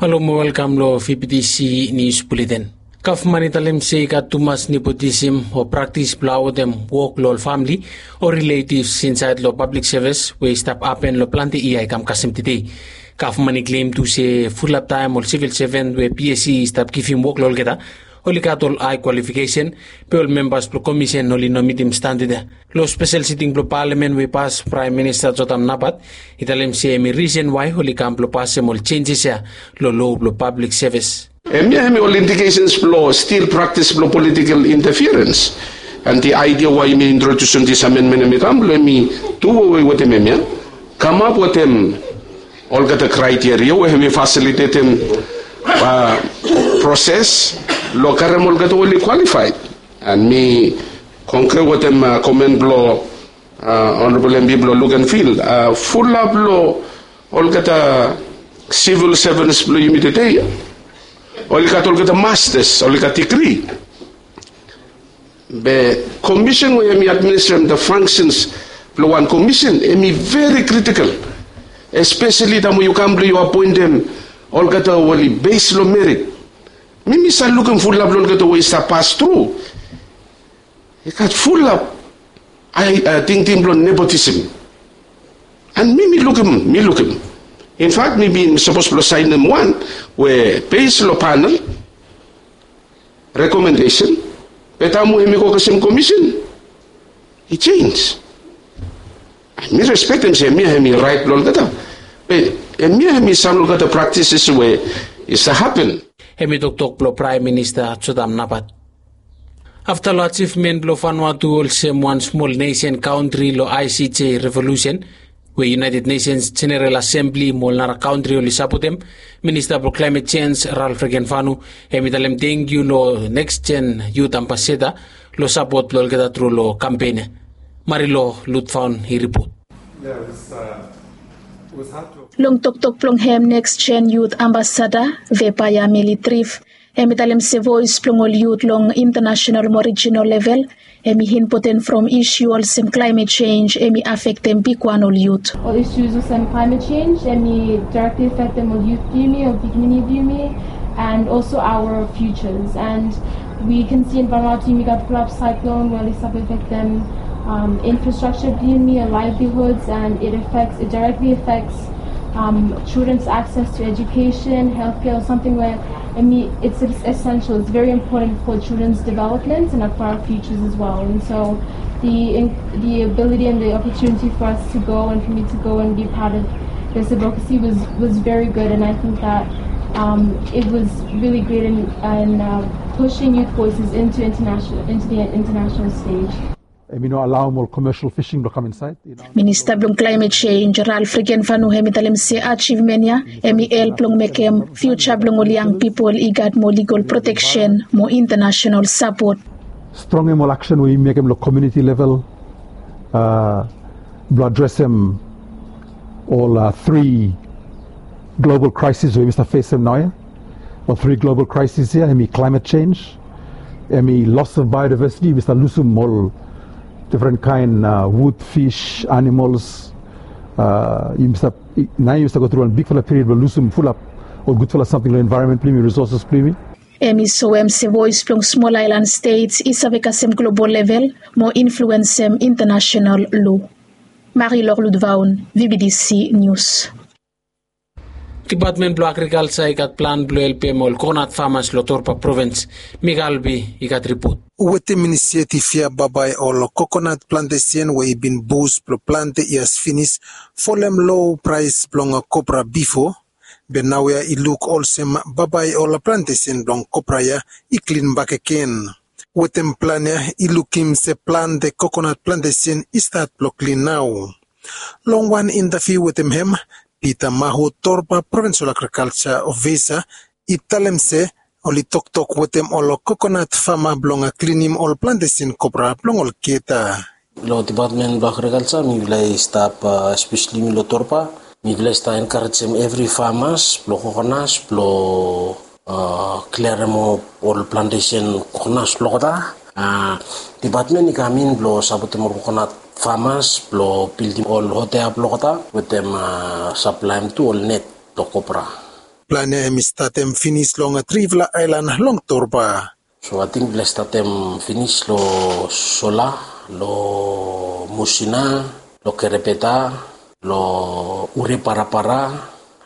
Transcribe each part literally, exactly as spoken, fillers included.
Halo mo welkam long V B T C News Bulletin. Gavman i talem se i gat tumas nepotism o praktis blong awotem wok long ol famili o riletivs insaed long pablik sevis we i stap hapen long plante yia i kam kasem tede. Gavman i klem tu se fulap taem ol sivil seven we PSC i stap givim wok long olgeta oli gat ol hae kwalifikesen, be ol membas blong komisen oli no mitim standad ya. Long spesel siting blong palamen we i pas, Praem Minista Jotam Napat i talem se hemi risen wae oli kam blong pasem ol jenjes ya long loa blong pablik sevis. Hemia hemi ol indikesens blong stil praktis blong politikel intafiarens. And the idea why hemi introdusim this amendment hemi kam blong hemi duwewe wetem hemia, kamap wetem olgeta kraiteria we hemi fasilitetem proses long karem olgeta we oli kwalifaed. And mi kongre wetem komen blong Honorable MP blong Luganville, fulap long olgeta sivil sevens blong yumi tede ya oli gat olgeta mastas, oli gat digri. Be komisen we hemi administrem the functions blong wan komisen hemi veri critical, espeseli taem we yu kam blong yu apoentem olgeta we oli bes long merit. Mi mi save lukim fulap long olgeta we i stap pas tru i gat fulap tingting blong nepotism. And mi mi lukim, mi lukim. Infak mi bin sapos blong saenem wan we bes long panel rekomendesen, be taem we hemi go kasem komisen i jenj. Mi respektem se hemia hemi raet blong olgeta, be hemia hemi sam long olgeta praktises we i save hapen. Hemi toktok blong Praem Minista Jotam Napat. Afta long ajivmen blong Vanuatu olsem wan smol nesen kantri long ICJ revolusen we United Nations General Assembly mo ol nara kantri oli sapotem, Minista blong Klaemet Jenj Ralph Regenvanu hemi talem tangkiu long Next Gen Youth Ambassador long sapot blong olgeta tru long kampen ya. Marilo Lutvaun i ripot. Long toktok blong hem, Next Gen Youth Ambassador Vepaya Melitrif hemi talem se voes blong ol yut long intanasenal mo rijinal level hemi impoten from isu olsem klaemet jenj hemi afektem bigwan ol yut. Ol isu olsem klaemet jenj hemi direktli afektem ol yut blong yumi, ol pikinini blong yumi, and also our futures. And we can see in Vanuatu yumi gat fulap saiklon we oli save afektem infrastructure blong yumi, livelihoods, and it affects, it directly affects children's access to education, healthcare, or something where, I mean, it's essential, it's very important for children's development and for our futures as well. And so the the ability and the opportunity for us to go and for me to go and be part of this advocacy was was very good, and I think that um, it was really great in, in uh, pushing youth voices into international into the international stage. Hemi no alaoem ol commercial fishing blong kam insaed. Minista blong Klaemet Jenj Ralph Regenvanu hemi talem se ajivmen ya hemi help long mekem fiuja blong ol yang pipol i gat mo ligol proteksen mo intanasenal sapot. Strongem ol aksen we yumi mekem long komuniti level blong adresem ol tri global kraesis we yumi stap fesem naoia. Ol tri global kraesis ya hemi klaemet jenj, hemi loss of biodiversity, yumi stap lusum ol difren kaen wud, fis, animols. Yumi stap, naoia yumi stap go tru wan bigfala period blong lusum fulap ol gudfala samting long envaeronmen blong yumi, risoses blong yumi. Hemi soem se voes blong smol aelan stets i save kasem global level mo influensem intanasenal lo. Marilor Ludvaun, VBTC News. Dipatmen blong Agrikalja i gat plan blong helpem ol kokonat famas long Torba provins. Mika Albi i gat ripot. Wetem inisiativ ya, bambae ol kokonat plantesen we i bin bus blong plante yias finis folem lo praes blong kopra bifo, be naoia i luk olsem bambae ol plantesen blong kopra ya i klin bakegen. Wetem plan ya i lukim se plante kokonat plantesen i stat blong klin nao. Long wan intaviu wetem hem, Peter Mahu, Torba Provinsel Agrikalja Ofisa, i talem se oli toktok wetem ol kokonat fama blong klinim ol plantesen kopra blong olgeta. Long dipatmen blong Agrikalja mifala i stap, espeseli mi long Torba, mifala i stap enkarejem evri famas blong kokonas blong kliarem ol plantesen kokonas blong olgeta. Dipatmen i kam in blong sapotem ol kokonat famas blong bildim ol hotea blong olgeta wetem saplaem tu ol net blong kopra. plan ya hem i statem finis long trifala aelan long Torba. So ating blong statem finis long Sola, long Musina, long Kerepeta, long Ure Parapara,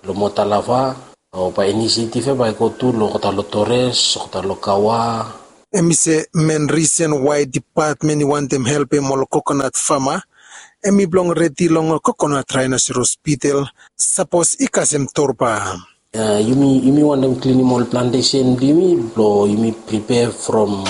long Motalava, long bae inisiatif ya bae i go tu long olgeta long Torres, olgeta long Kawa. Hem i se men risen wae dipatmen i wantem helpem ol kokonat fama hem i blong redi long kokonat raenoseros bitel sapos i kasem Torba. Yumi yumi wantem klinim ol plantesen blong yumi blong yumi pripea from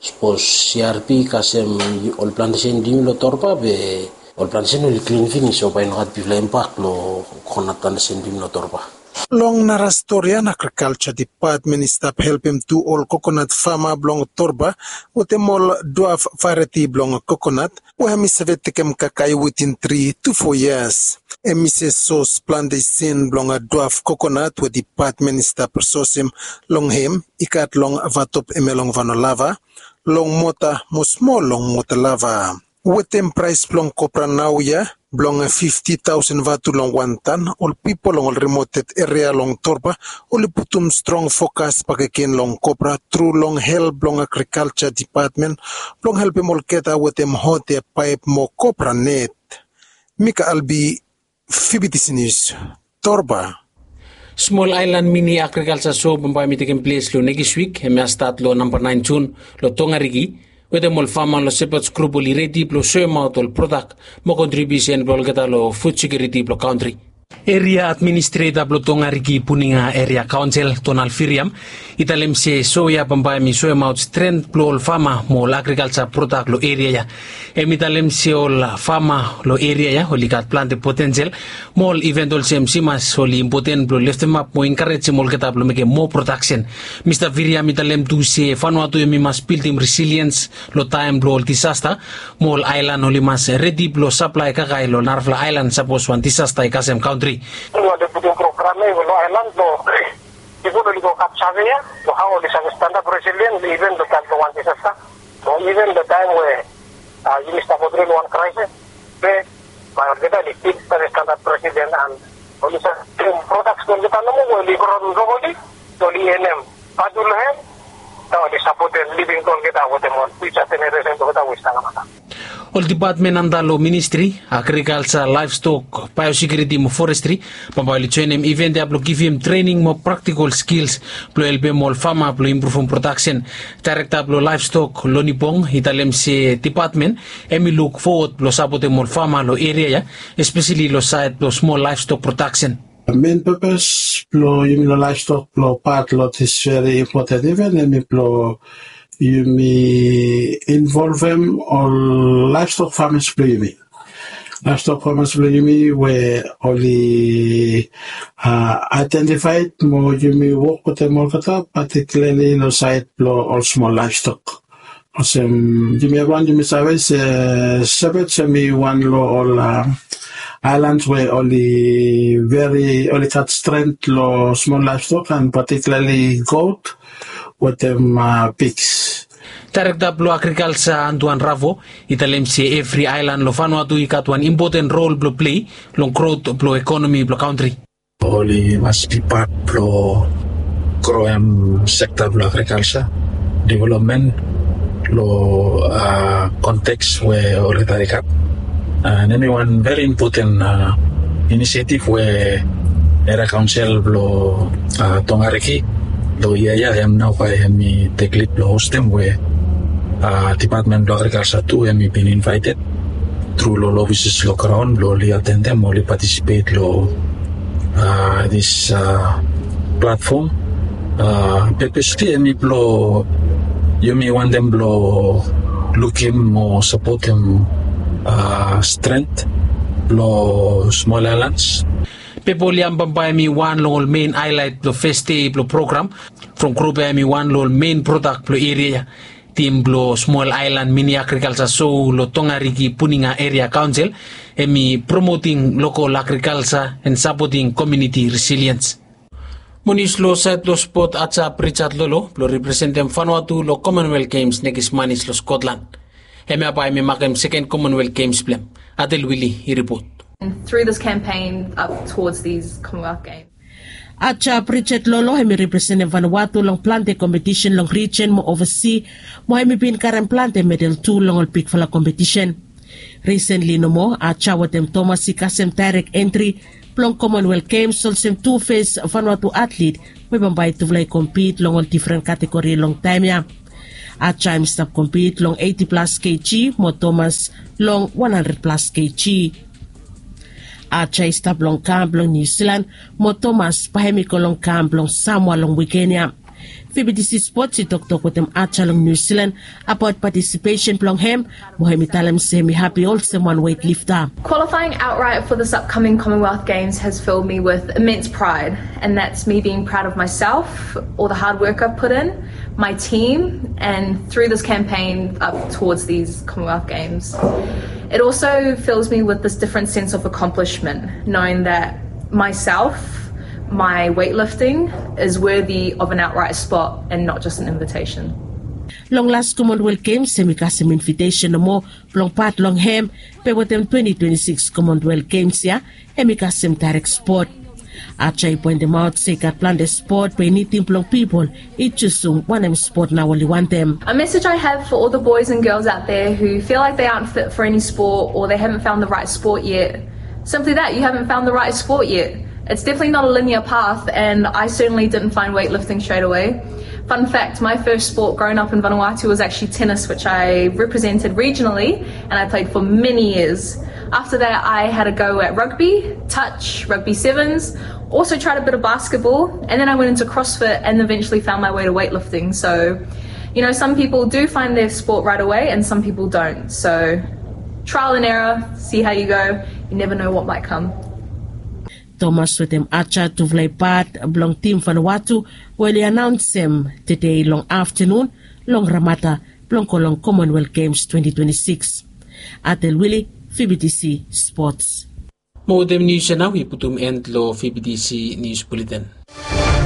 sapos C R P i kasem ol plantesen blong yumi long Torba be ol plantesen oli klin finis so bae i no gat bigfala impak long kokonat plantesen blong yumi long Torba. Long nara stori ya agrikalsa dipatmen i stap helpem tu ol kokonat fama blong Torba wetem ol duaf vareti blong kokonat we hem i save tekem kakae witin tri tu fo yias. Hem i se sos plantesen blong duaf kokonat we dipatmen i stap sosem long hem i gat long vatop hemia long Vanolava, long Mota mo smol long Motalava. Wetem praes blong kopra naoia blong fifti taosen vatu long wan tan, ol pipol long ol rimoted eria long Torba oli putum strong fokas bakegen long kopra tru long help blong agrikalsa dipatmen blong helpem olgeta wetem hot eapaep mo kopra net. Mika Albi, Fibitisi Nius, Torba. Smol aelan mini agrikalsa so bambae hem i tekem ples long nekis wik hemia stat long namba naen Jun long Tongariki wetem ol fama long Shepherds Group oli redi blong soemaot ol prodak mo kontribiusen blong olgeta long fud sekiuriti blong kantri. Eria administreta blong Tongariki Puninga Eria Kaonsel, Donald Viriam, i talem se so ya bambae hem i soemaot stren blong ol fama mo ol agrikalsa prodak long eria ya. Hem i talem se ol fama long eria ya oli gat plante potensel mo ol iven olsem simas oli impoten blong leftemap mo enkarejem olgeta blong mekem moa prodaksen. Mista Viriam i talem tu se Vanuatu hem i mas bildim resiliens long taem blong ol disasta mo ol aelan oli mas redi blong saplae kakae long narafala aelan sapos wan disasta i kasem kantri. Oli wantem putum program ya long aelan blong pipol oli go gat save ya long hao oli save stanap resilien iven long taem blong wan disasta. Long iven long taem we yumi stap go tru long wan kraesis be bae olgeta oli stil save stanap resilien an oli save prodaks blong olgeta nomo we oli gro blong oli oli enem vatu long hem. Nao oli sapotem living blong olgeta wetem ol fiuja jeneresen blong olgeta we i stap long mata. Ol dipatmen anda long ministri agrikalsa, laevstok, baeosekiuriti mo forestri bambae oli joenem iven ya blong givim trening mo praktikol skils blong helpem ol fama blong impruvum prodaksen. Daerekta blong laevstok, Loni Bong, i talem se dipatmen hem i luk fowod blong sapotem ol fama long eria ya, espeseli long saed blong smol laevstok prodaksen. Men pepes blong yumi long laevstok blong pat long dis veri impoten iven hem i blong yumi involvem ol laevstok famas blong yumi. Laevstok famas blong yumi we oli aedentifaed mo yumi wok wetem olgeta patikilarli long saed blong ol smol laevstok. Olsem yumi evriwan yumi save se Shepherds hem i wan long ol aelans we oli veri oli gat stren long smol laevstok an patikilarli got wetem piks. Daerekta blong agrikalsa, Antoine Ravo, i talem se evri aelan long Vanuatu i gat wan impoten rol blong plei long grot blong ekonomi blong kantri. Oli mas bi pat blong groem sekta blong agrikalsa developmen long konteks we olgeta i gat. An hem i wan veri impoten inisiatif we eria kaonsel blong Tongariki long yia ya hem nao bae hem i tek lid blong hostem we dipatmen blong agrikalsa tu hem i bin invaeted tru long ol ofises long graon blong oli atendem oli patisipet long dis platfom. Pepes tu hem i blong yumi wantem blong lukim mo sapotem stren blong smol aelans. Pepa oli ambambae hem i wan long ol men aelaet blong fes dei blong program. From grup ya hem i wan long ol men prodak blong eria ya. Tim blong smol aelan mini agrikalsa so long Tongariki Puninga Eria Kaonsel hem i promoting lokol agrikalsa an sapoting komuniti resiliens. Mo nius long saed blong spot, Ajap Richard Lolo blong representem Vanuatu long Commonwealth Games nekis manis long Scotland. Hemia bae hem i makem seken Commonwealth Games blong hem. Adel Wili i ripot. And through this campaign up towards these Commonwealth Games, Aja Bridget Lolo hem i representem Vanuatu long plante kompetisen long rijen mo ovasi, mo hem i bin karem plante medal tu long ol bigfala kompetisen. Risenli nomo Aja wetem Tomas i kasem daerek entri blong Commonwealth Games olsem tu fes Vanuatu atlet, we bambae tufala i kompit long ol difren kategori long taem ya. Aja hem i stap kompit long eiti plas kg mo Tomas long wan handred plas kg. Aja i stap long kam blong Niu Silan, mo Tomas bae hem i go long kam blong Samoa long wiken ya. Fibidisi Spots i toktok wetem Aja long Niu Silan abaot patisipesen blong hem, mo hem i talem se hem i hapi olsem wan weightlifter. Qualifying outright for this upcoming Commonwealth Games has filled me with immense pride, and that's me being proud of myself, all the hard work I've put in, my team, and through this campaign up towards these Commonwealth Games. It also fills me with this different sense of accomplishment, knowing that myself, my weightlifting, is worthy of an outright spot and not just an invitation. Long las Commonwealth Games hem i kasem invitesen nomo blong pat long hem, be wetem twenti twenti sikis Commonwealth Games ya hem i kasem daerek spot. Aja i poentemaot se i gat plante spot be i nidim blong pipol i jusum wanem spot nao oli wantem. A message I have for all the boys and girls out there who feel like they aren't fit for any sport or they haven't found the right sport yet. Simply that, you haven't found the right sport yet. It's definitely not a linear path, and I certainly didn't find weightlifting straight away. Fun fact, my first sport growing up in Vanuatu was actually tennis, which I represented regionally and I played for many years. After that, I had a go at rugby, touch, rugby sevens, also tried a bit of basketball, and then I went into CrossFit and eventually found my way to weightlifting. So, you know, some people do find their sport right away and some people don't. So, trial and error, see how you go. You never know what might come. Tomas wetem Aja tufala i pat blong tim Vanuatu we oli anaonsem tede long aftanun long Ramada blong go long Commonwealth Games twenti twenti sikis. Atel Wili, Fibidisi Spots. Mo wetem nius ya nao i putum en long Fibidisi Nius Buleten.